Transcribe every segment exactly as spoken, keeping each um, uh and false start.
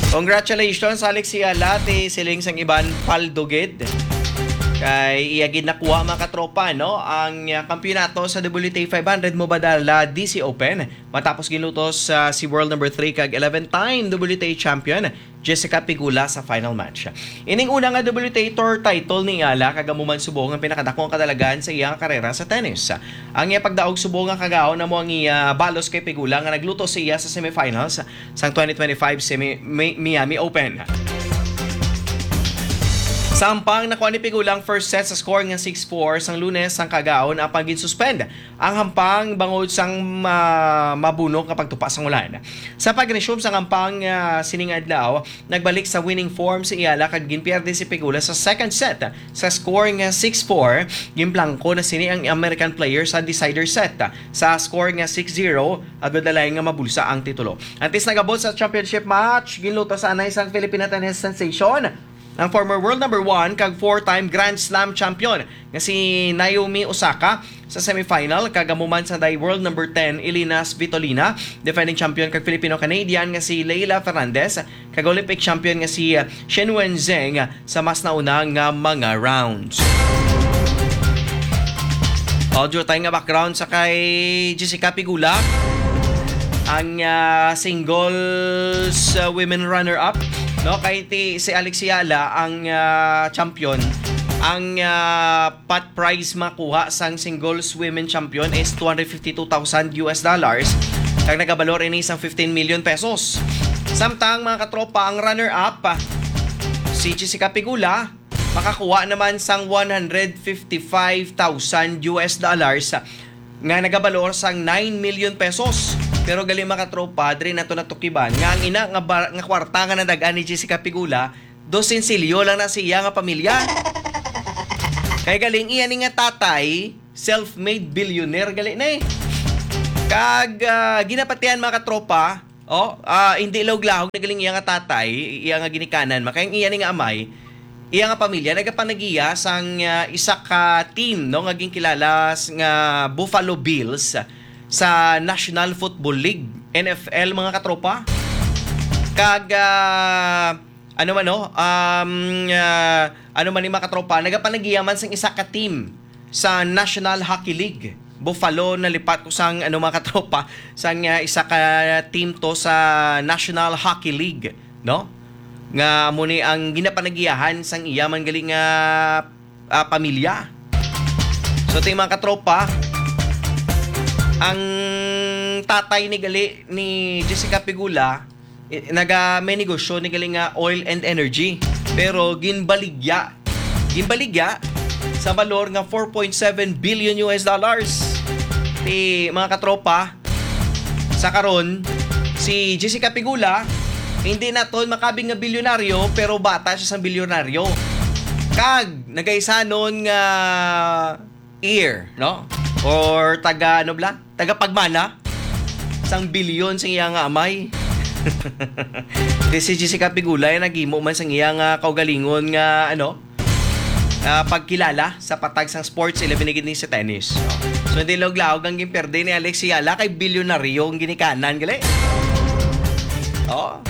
Congratulations, Alex Yala, ti siling sang iban, paldo gid. Kay iya gid nakuha, mga katropa, no? Ang, ah, kampiyonato sa W T A five hundred Mubadala D C Open. Matapos ginlutos, ah, si world number three kag eleven-time W T A champion, Jessica Pegula, sa final match. Ining una nga W T A tour title ni Yala, kag amo man subong ang pinakadako nga kadalagan sa iya nga karera sa tennis. Ang iya pagdaog subong nga kagaon amo ang iya balos kay Pegula nga naglutos sa iya sa semifinals sang twenty twenty-five semi-, Mi-, Miami Open. Sa hampang, nakuha ni Pegula ang first set sa score nga six four sang Lunes sang kagaon, apan ginsuspend ang hampang bangod sang ma-, mabunok nga pagtupa sang ulan. Sa pag-resume sang hampang, ah, sining adlaw, nagbalik sa winning form si Yala kag ginpierde si Pegula sa second set sa score nga six four. Ginplangko na sini ang American player sa decider set sa score nga six zero, agod na lang nga mabulsa ang titulo. Antes nag-abot sa championship match, ginlutos anay sang Filipina tennis sensation, ang former world number one kag four-time Grand Slam champion nga si Naomi Osaka sa semifinal, kag amo man sang day world number ten, Elina Svitolina, defending champion kag Filipino-Canadian nga si Leila Fernandez, kag Olympic champion nga si, uh, Shenwen Zheng sa mas nauna nga mga rounds. Audio tayo nga background sa kay Jessica Pegula, ang, ah, singles, ah, women runner-up, no? Kay ti, si Alex Yala ang, ah, champion. Ang, ah, pot prize makuha sang singles women champion is two hundred fifty-two thousand U S dollars, kag nagabalor ini sang fifteen million pesos. Samtang, mga katropa, ang runner-up, ah, si Jessica Pegula, makakuha naman sang one hundred fifty-five thousand U S dollars, nga nagabalor sang nine million pesos. Pero gali, mga katropa, diri nato natukiban nga ang ina nga bar-, nga kwarta nga nadag-an ni Jessica Pegula, dos sensilyo lang na sa iya nga pamilya. Kay galing iya ni nga tatay, self-made billionaire gali na eh. Kag, ah, ginapatihan, mga katropa, oh, ah, hindi lawog-lawog na galing iya nga tatay, iya nga ginikanan, makay ang iya ni nga amay, iya nga pamilya, nagapanagiya sang, ah, isa ka team, no, nga ginkilala s-, nga Buffalo Bills sa National Football League, N F L, mga katropa. Kag, ah, ano man, no? Um, ah, ano man ni, mga katropa, nagapanagiya man sang isa ka team sa National Hockey League. Buffalo, nalipat ko sang, ano, mga katropa, sang, ah, isa ka team to sa National Hockey League, no? Nga amo ni ang ginapanagiyahan sang iya man gali nga, ah, pamilya. So, ting mga katropa, ang tatay ni gali ni Jessica Pegula, i-, naga-, may negosyo ni gali nga oil and energy. Pero ginbaligya. Ginbaligya sa balor nga four point seven billion U S dollars. Ti, mga katropa, sa karon, si Jessica Pegula, hindi naton makabig nga bilyonaryo, pero bata siya sang bilyonaryo. Kag nagaisanon nga heir, no? Or taga, ano bala? Tagapagmana sang bilyon sa iya nga amay. Di si Jessica Pegula, eh, naghimo man sang iya nga kaugalingon nga, ano, ah, pagkilala sa patag sang sports, ilabi na gid ni sa tennis. So, hindi lawog-lawog ang ginperde ni Alex Yala kay bilyonaryo ang ginikanan, gali. Oh,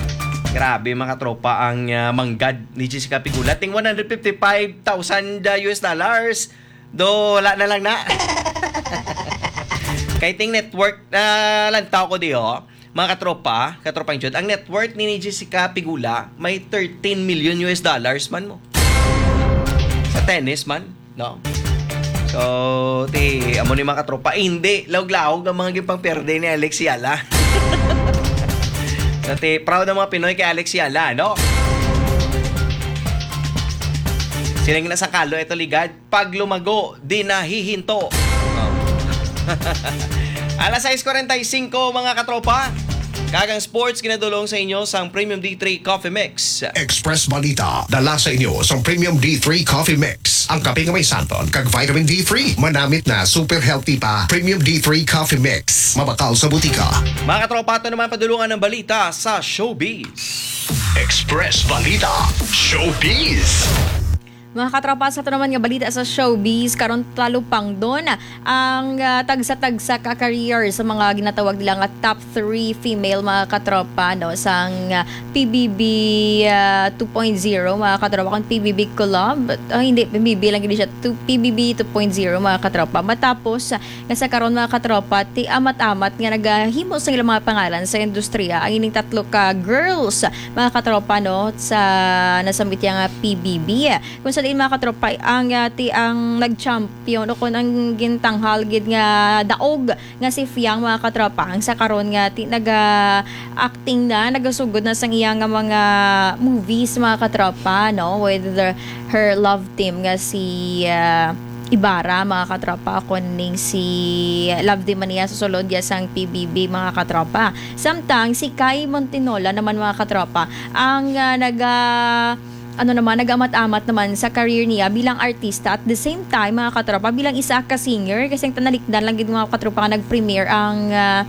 grabe, mga katropa, ang, ah, manggad ni Jessica Pegula. Ting one hundred fifty-five thousand, ah, U S dollars. Do, wala na lang na. Kay ting network na lantaw ko di, oh. Mga katropa, katropang Jud, ang net worth ni, ni Jessica Pegula may thirteen million U S dollars man mo. Sa tennis man, no? So, ti, amo ni, mga katropa, hindi lawog-lawog ang mga ginpangperde ni Alex Yala. So, ti, proud ang mga Pinoy kay Alex Yala, no? Siling na sa kalo, ito ligad, paglumago, di nahihinto. Oh. Alas sais kuwarenta y singko, mga katropa. Kag ang sports ginadulong sa inyo sang Premium D three Coffee Mix. Express Balita, dala sa inyo sang Premium D three Coffee Mix. Ang kape nga may santon kag vitamin D three, manamit na, super healthy pa. Premium D three Coffee Mix, mabakal sa butika. Mga katropa, ato naman padulungan ang balita sa showbiz. Express Balita, Showbiz. Mga katropa, sa ito naman nga balita sa showbiz, karon talupangdon ang, ah, tagsa-tagsa ka career sa mga ginatawag nila nga top three female, mga katropa, no, sang, ah, P B B, ah, two point zero, mga katropa, kung P B B Club, ah, hindi, P B B lang gid siya, two, P B B two point zero, mga katropa. Matapos, ah, nga sa karon, mga katropa, ti amat-amat nga nagahimo sa ilang mga pangalan sa industriya ang ining tatlo ka girls, mga katropa, no, sa nasambit nga P B B. Kung sa diin, mga katropa, ang, ah, ti ang nag-champion o kung ang gintanghal gid nga daog nga si Fiang, mga katropa, ang sa karon nga ti naga-acting na, nagasugod na sang iya nga mga movies, mga katropa, no, with the, her love team nga si, ah, Ibarra, mga katropa, kuning si love team man niya sa sulod ya sang P B B, mga katropa. Samtang si Kai Montinola naman, mga katropa, ang, ah, naga-, ano naman, nag-amat-amat naman sa career niya bilang artista. At the same time, mga katropa, bilang isa ka singer, kasi ang tanalikdan lang gid, mga katropa, nga nag-premiere ang, ah,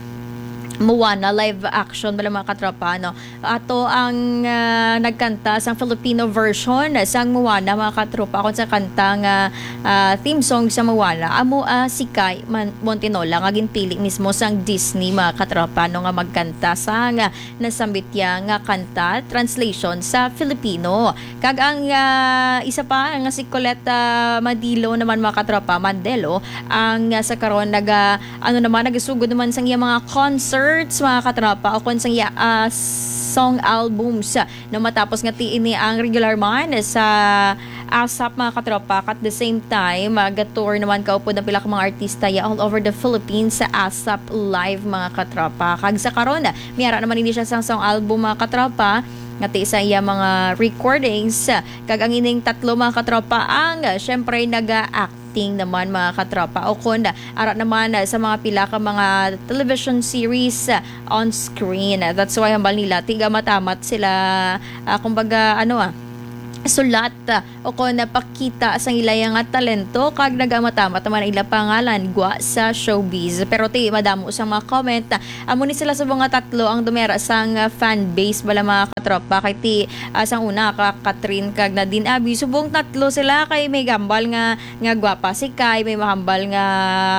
Moana live action bala, mga katropa, no? Ato ang, ah, nagkanta sang Filipino version sang Moana, mga katropa, kung sa kanta nga, ah, theme song sa Moana, amo, ah, si Kai Man-, Montinola nga ginpili mismo sang Disney, mga katropa, no, nga magkanta sang, ah, nasambit ya nga kanta, translation sa Filipino. Kag ang, ah, isa pa nga si Colette, ah, Madilo naman, mga katropa, Mandelo, ang, ah, sa karon naga, ano naman, nagasugod naman sang iya mga concerts, mga katropa, o kon sang iya, ah, song albums, no, matapos nga ti ini ang regular man sa ASAP, mga katropa. At the same time, ah, ga-tour naman kaupod ang pila ka mga artista ya all over the Philippines sa ASAP Live, mga katropa. Kag sa karon, may ara naman ini siya sang song album, mga katropa, nga ti sa iya mga recordings. Kag ang ining tatlo, mga katropa, ang, ah, syempre naga-acting naman, mga katropa, o kon ara naman, ah, sa mga pila ka mga television series, ah, on screen. That's why hambal nila, ti amat-amat sila, ah, kumbaga, ano, ah, sulat, ah, o kon napakita sang ila nga talento, kag nag-amat-amat naman ang ila pangalan gwa sa showbiz. Pero ti madamo sang mga comment, ah, amo ni sila subong nga tatlo ang dumera sang, ah, fan base bala, mga katropa, kay ti, ah, sang una ka Kathryn kag Nadine Abi, subong tatlo sila kay may gambal nga, nga gwapa si Kai, may mahambal nga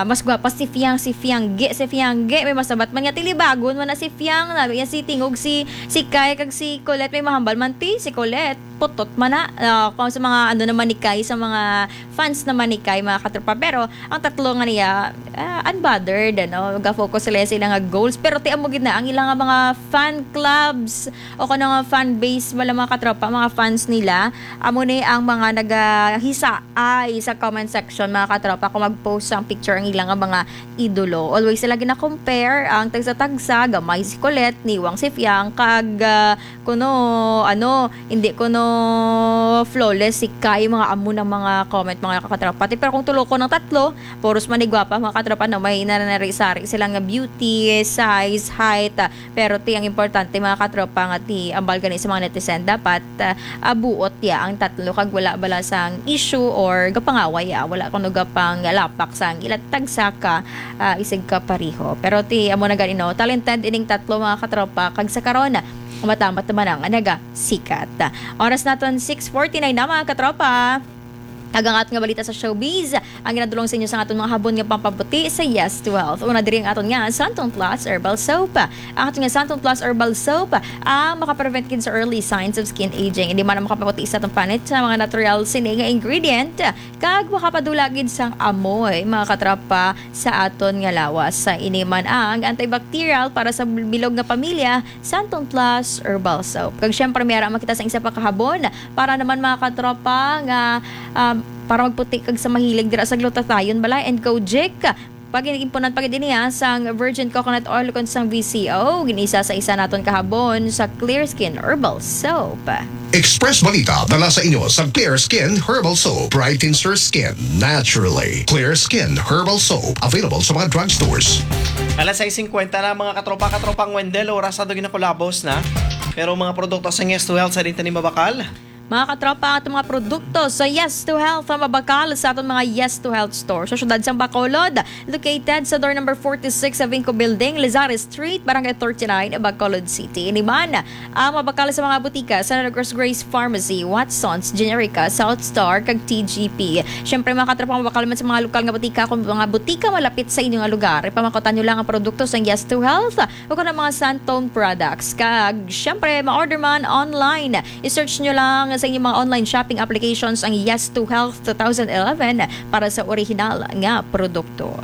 mas gwapa si Fiang, si Fiang gi, si Fiang gi, may masabat man nga tilibagon man na si Fiang, nabi niya si Tingog, si, si Kai kag si Colette, may mahambal man ti si Colette, putot man na. Ah, kung sa mga ano naman ni Kai, sa mga fans naman ni Kai, mga katropa. Pero ang tatlo nga niya, ah, unbothered, ano, ga-focus sila sa ilang goals. Pero ti amo gid na ang ilang mga fan clubs o kung nga fan base, wala, mga katropa, mga fans nila, amo ni ang mga nagahisaay sa comment section, mga katropa, kung mag-post sang picture ang ilang mga idolo. Always sila gina-compare ang tagsa-tagsa, gamay si Colette, niwang si Fiang, kag, ah, kuno, ano, hindi kuno flawless si Kai, mga amo ng mga comment, mga katropa. Pero kung tulo ko ng tatlo, puros manigwapa, mga katropa, no, may nananari-sari sila nga beauty, size, height, ah, pero ti ang importante, mga katropa, nga ti ambal gani sa mga netizen, dapat, ah, abuot ya ang tatlo kag wala bala sang issue or gapangaway, ah, wala kuno gapanglapak sang ila tagsa ka, ah, isig ka pareho. Pero ti amo na gani, no, talented ining tatlo, mga katropa, kag sa karon, matamat naman ang nagasikat. Oras naton six forty-nine na, mga katropa. Kag ang aton nga balita sa showbiz, ang ginadulong sa inyo sa aton mga habon nga pampabuti sa Yes Twelve. Una diri ang aton nga Santon Plus Herbal Soap. Ang aton nga Santon Plus Herbal Soap, ah, makaprevent gid sa early signs of skin aging. Hindi man makapabuti sa atong panit sa mga natural sini nga ingredient. Kag makapadula gid sang amoy, mga katropa, sa aton nga lawas. Sa ini man ang antibacterial para sa bilog nga pamilya, Santon Plus Herbal Soap. Kag syempre, may ara makita sa isa pa kahabon para naman, mga katropa, nga, um, para magputi kag sa mahilig dira sa glutathione, balay and Kojic. Pag impunan pa gid niya sang virgin coconut oil kon sang V C O, ginisa sa isa naton kahabon sa Clear Skin Herbal Soap. Express Balita dala sa inyo sa Clear Skin Herbal Soap. Brightens your skin naturally. Clear Skin Herbal Soap, available sa mga drugstores. Alas sais singkwenta na, mga katropa, katropang Wendell, oras sa ginakulabos na. Pero mga produkto sa Yes to Health sa dinta ni mabakal. Mga katropa, ang atong mga produkto sa Yes to Health ang mabakal sa aton mga Yes to Health store sa siyudad sang Bacolod, located sa door number forty-six sa Vinco Building, Lizares Street, Barangay thirty-nine, Bacolod City. Ini man ang mabakal sa mga butika sa Negros Grace Pharmacy, Watson's Generica, South Star, kag T G P. Siyempre, mga katropa, mabakal man sa mga lokal nga butika. Kung mga butika malapit sa inyo nga lugar, ipamangkutan nyo lang ang produkto sa Yes to Health o kung mga Santone products. Kag, siyempre, ma-order man online. I-search nyo lang sa inyong mga online shopping applications ang Yes to Health two thousand eleven para sa original nga produkto.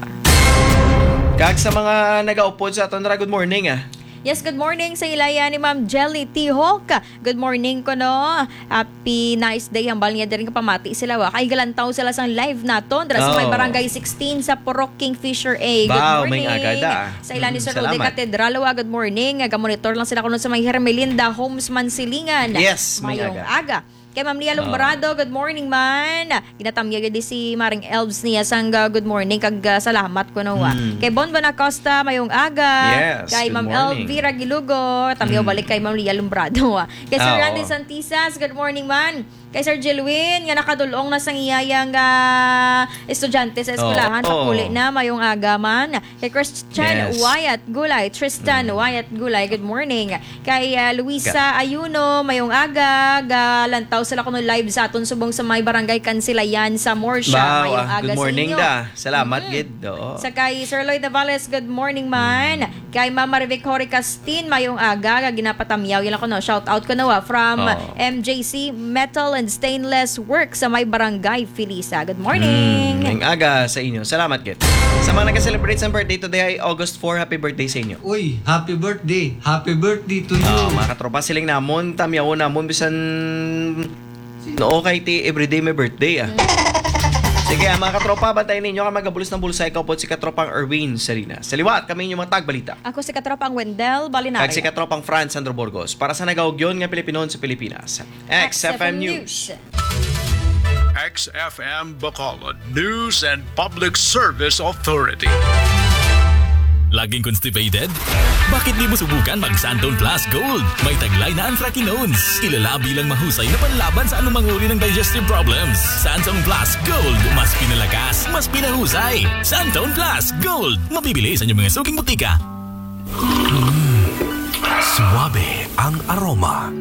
Kag sa mga nagaupod sa aton ra, good morning, ah. Yes, good morning sa ilaya ni Ma'am Jelly T Hawk. Good morning kuno. Happy nice day. Hambal niya diri nga pamati sila, wa. Kay galantaw sila sang live naton dira sa may Oh. Barangay sixteen sa Purok Kingfisher A. Good Wow, may morning. Aga da. Sa ila ni Mm, Sir Rudy salamat. Catedral, wa. Good morning. Ga-monitor lang sila kuno sa may Hermelinda Homes Mansilingan. Yes, may Mayong aga. Aga. Kay Ma'am Lia Oh. Lombrado, good morning man. Ginatamya gyud si Maring Elves niya sang, uh, good morning kag, uh, salamat kuno, wa. Mm. Kay Bon Bonacosta, mayong aga. Yes, Kay good Ma'am morning. Elvira Gilugo, tamyaw Mm. balik kay Ma'am Lia Lombrado, wa. Kay Sir Ah, Randy oo. Santisas, good morning man. Kay Sir Jilwin, nga nakadulong na sang iyayang, ah, estudyante sa Oo, eskwelahan, oo. Pakuli na, mayong aga man. Kay Christian Yes. Wyatt Gulay, Tristan Mm. Wyatt Gulay, good morning. Kay, ah, Luisa Ka- Ayuno, mayong aga, galantaw sila kuno live sa aton subong sa may barangay Kansilayan sa Morsha. Wow, Mayong ah, aga good sa morning inyo. da. Salamat, Mm. gid. Oo. Sa kay Sir Lloyd Navales, good morning man. Kay Ma'am Marivic Horica Tin, mayong aga, nga ginapatamyaw. Yan ako, no? Shout out ko, no, ah, from Oo. M J C Metal and Stainless Works sa may Barangay Felisa. Good morning. Mm, mayong aga sa inyo. Salamat, gid. Sa mga nag-celebrate sa birthday today ay August four, happy birthday sa inyo. Uy, happy birthday. Happy birthday to you. Ah, mga katropa, siling namon, tamyawon namon, bisan no, okay, ti everyday may birthday, ah. Mm. Sige, ah, mga katropa, bantayan ninyo ang magabulos ng bulsa. Ikaw po si Katropang Erwin Salinas. Sa liwat, kami inyong mga tagbalita. Ako si Katropang Wendell Balinaria. Kag si Katropang Franz Sandro Burgos. Para sa nagaugyon nga Pilipinon sa Pilipinas. X F M News. X F M Bacolod News and Public Service Authority. Laging constipated? Bakit di mo subukan mag Santone Plus Gold? May taglay na anthracanones. Ilalabi lang mahusay na panlaban sa anumang uri ng digestive problems. Santone Plus Gold. Mas pinalakas, mas pinahusay. Santone Plus Gold. Mabibili sa inyong mga suking butika. Mm. Suabe ang aroma.